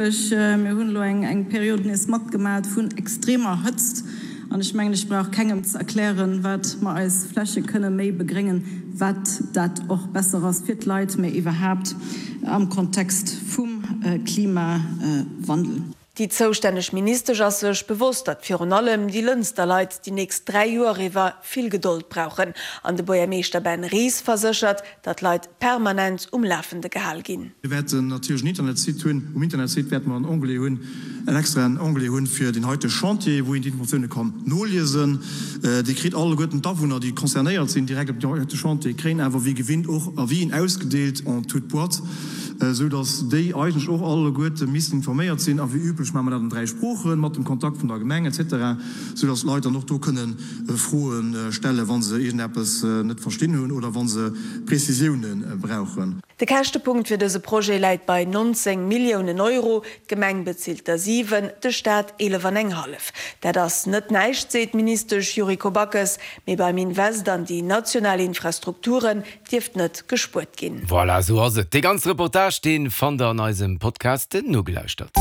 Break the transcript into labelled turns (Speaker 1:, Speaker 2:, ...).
Speaker 1: Mir hunn elo eng Period nees matgemat vun extremer Hëtzt an ech mengen, ech brauch kengem ze erklären, wat mer eis Fläche kënne méi begréngen, wat dat och besser ass fir d'Leit, mä iwwerhaapt am Kontext vum Klimawandel.
Speaker 2: Déi zoustänneg Ministesch ass sech bewosst, datt virun allem déi Lënster Leit déi nächst 3 Joer iwwer vill Gedold brauchen. An de Buergermeeschter Ben Ries verséchert, datt d'Leit permanent um Lafende gehal ginn.
Speaker 3: Mir wäerten natierlech en Internetsite hunn. Um Internetsite wäerte mer en Onglet hunn, en extraen Onglet hunn fir deen heite Chantier, wou een déi Informatioune kann noliesen. Dir kritt alleguerten d'Awunner, déi concernéiert sinn, direkt op deen heite Chantier, kréien awer wéi gewinnt och Avisen ausgedeelt en toute boîte, esou datt déi eigentlech och alleguerte missten informéiert sinn. A wéi üblech maache mer dat an 3 Sproochen, mat dem Kontakt vun der Gemeng et cetera, esou datt d'Leit dann och do kënne Froe stellen, wa se iergendeppes net verstinn hunn oder wa se Prezisioune brauchen.
Speaker 2: De Käschtepunkt fir dëse Projet läit bei 19 Milliounen Euro. D'Gemeng bezilt der 7, de Staat 11 an eng hallef. Dat ass net näischt, seet d'Ministesch Yuriko Backes. Mee beim Invest an déi national Infrastrukturen dierft net gespuert ginn.
Speaker 4: Voilà, esou ass et. Dee ganze Reportage, dee fannt der an eisem Podcast Nogelauschtert.